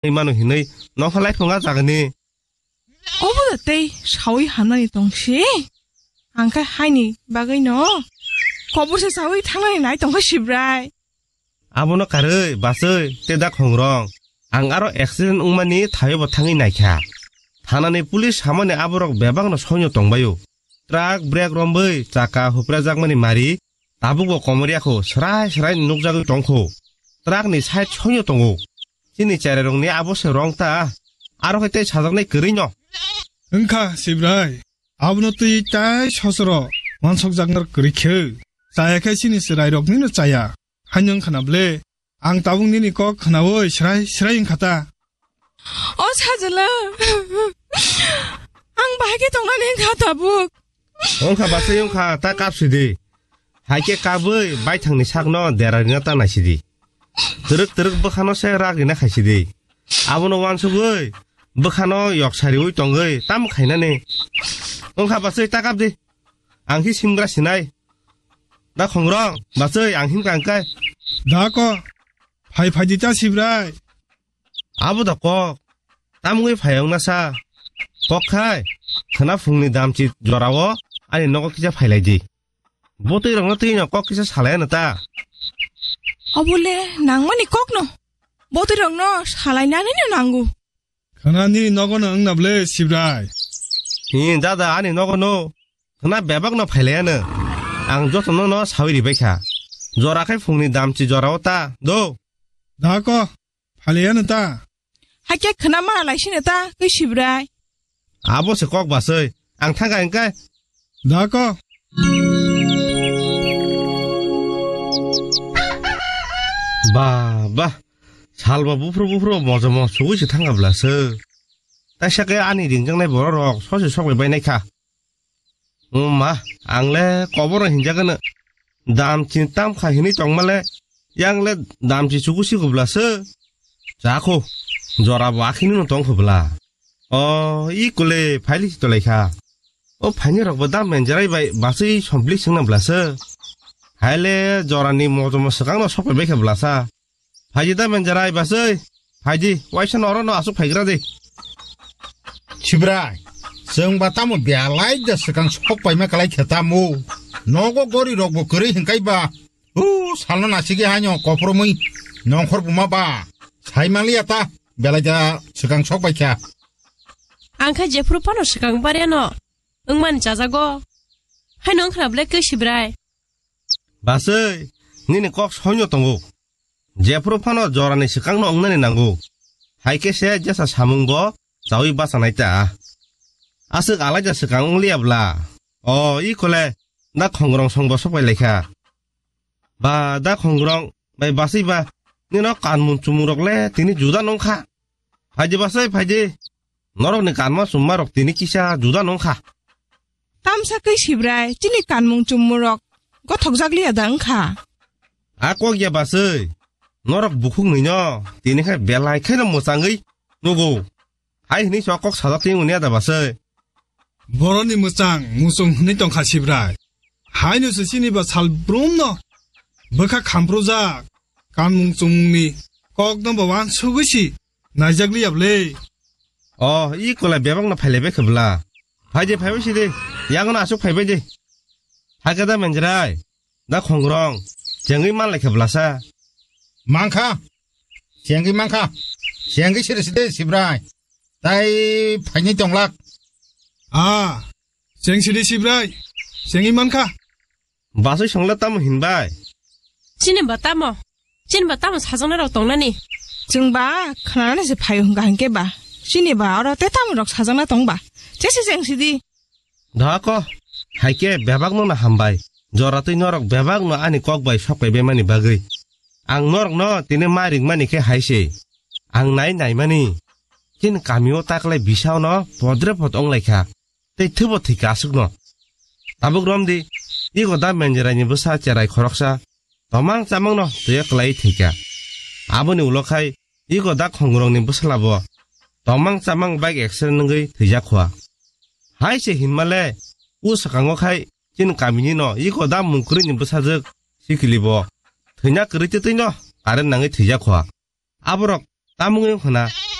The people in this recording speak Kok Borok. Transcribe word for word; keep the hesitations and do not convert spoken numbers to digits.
Ui mano hinui nokha lai phunga jagani. Obo da tei sawi hamnani tongsi. Ang khe haini bagwi no kobor se sawi thangnani nai tongkha Sibrai. Abono karwi, bachwi, te da khongrong. Ang aro accident wngmani thaio bo thangwi naikha. Thanani police hamani aborok bebakno soino tongbaio. Truck brake romwi chaka huprajakmani mari, tabukbo komorya kho, srai srai nukjagwi tongkho. Truck ni side soino tongo. Chini cherairokni abo se rong ta, aro khe tei sajaknai kwrwino. Wngkha, Sibrai. Abono twi tai sosoro wansokjaknai kwrwi khe. Chaya khe chini cherairoknino chaya. Haino wngkha na ble? Ang tabuk nini kok khnaui srai srai wngkha ta. O sajla, ang bahai khe tongnani wngkha tabuk. Wngkha bachai wngkha, ta kapsidi. Hai khe kabwi baithangni sakno dera rina ta naisidi. Twrwk twrwk bwkhano se rak rina khaisidi. Abono wansugwi bwkhano yok sariui tongwi tamo khainani. Wngkha bachai ta kapdi. Ang khe simgra sinai. Da khongrong, bachai ang himkha hingkai. Da ko, phai phaidi ta Sibrai. Abo da kok. Tamungwi phai wngna sa. Kok khai, khwna phungni damchi jorao ani nogo kisa phailaidi. Botwi rokno twino kok kisa salai ano ta. Obole nangmani kokno. Botwi rokno salainani no nango. Khwna nini nogo no wngna ble Sibrai. Hi, dada, ani nogo no. Khwna bebak no phailai ano. Ang joto no no sawi ribai kha. Jora khai phungni damchi jorao ta, do. Da ko, phailai ano ta. Hakhe khwna ma lai sino ta, kwi Sibrai. Abo se kok basai. Ang thangkha hingkhe. Da ko. Ba, ba. Salba buphuru buphuru mojo mo sugui se thangkha bla se. Taisa khe ani ringjaknai borok rok sosi sokbai bai naikha. O ma, ang le koboro hinjagano. Damchi tamkha hinui tongmale, yang le damchi chukusi kubla se. Chakho, jora bo akhini no tongkho bla. O, i kule phaili si tolai kha. O phaini rok bo dam menjerai bai basui sompli singna bla se. Haile jorani mojomo swkang no sokbai bai kha bla sa. Phaidi da menjerai basui. Phaidi, waisa noro no asuk phaigra di. Sibrai, chwng ba tamo belai da swkang sok paima kalai khe tamo. Nogo gori rok bo kwrwi hingkai ba. U, salno nasigi haino kophormui nongkhor buma ba. Sai manliya ta, belai da swkang sok bai kha. Ang kha jephuru phano swkang barya no. Wngmani chajago. Haino wngkhna ble khe Sibrai. Basui, nini kok soino tongo. Jephuru phano jorani swkangno wngnani nango. Hai khe se jesa samung bo chaui bachanai ta. Aswk alaida swkang wngliya bla. O, i kole, da khongrong song bo sopai laikha. Ba, da khongrong, bai basui ba, nino kanmung chumung rok le tini juda nongkha. Phaidi basui, phaidi. Norokni kanma chumma rok tini kisa juda nongkha. Tamsa khe Sibrai, chini kanmung chumung rok gothok jak liya da wngkha. A kok ya basui, norok bukhuk nwi no, tini khai belai khaino mwchangwi nugo. Hai hwnwi so kok sajak twi wngya da basui. Boroni mwchang muchung hwnwi tongkha Sibrai. Haino se chini ba sal brum no bwkha khamprujak. Kanmung chumungni kok no ba wansugwi si naijak liya bwle. O, i kola bebak no phailai bai khe bwla. Phaidi, phaibai sidi. Yago no asuk phaibai di. Hakhe da menjerai. Da khongrong. Chengwi man lai khe bwlasa. Mankha. Chengwi mankha. Chengwi siri sidi Sibrai. Tai phaini tonglak. A. Cheng sidi Sibrai. Chengwi mankha. Basui songla tamo hinbai? Chini ba tamo? Chini ba tamo sajakna rok tongnani? Chwng ba khnanani se phaio hwnkha hinkhe ba. Chini ba oro te tamo rok sajakna tong ba? Chesi cheng sidi. Dhako, haike bebak no na hambai. Jora twi norok bebak no ani kok bai sok bai bemani bagwi. Ang norok no tini ma ringmani khe hai se. Ang nai naimani. Chini kamio taklai bisao no podre pod ong lai kha. Tei thwibo thwikha aswkno. Tabuk romdi, ego da menjeraini bwsa cherai khoroksa, tomang chamangno twiya kwlaiwi thwikha. Aboni ulo khai, ego da khongrokni bwsalabo tomang chamang bike accident wngwi thwijak khua. Hai se hinmale, o swkango khai chini kaminino ego da mungkwrwini bwsajwk sikilibo thwina kwrwi twtwino current nangwi thwijak khua. Aborok tamungwi wng khna.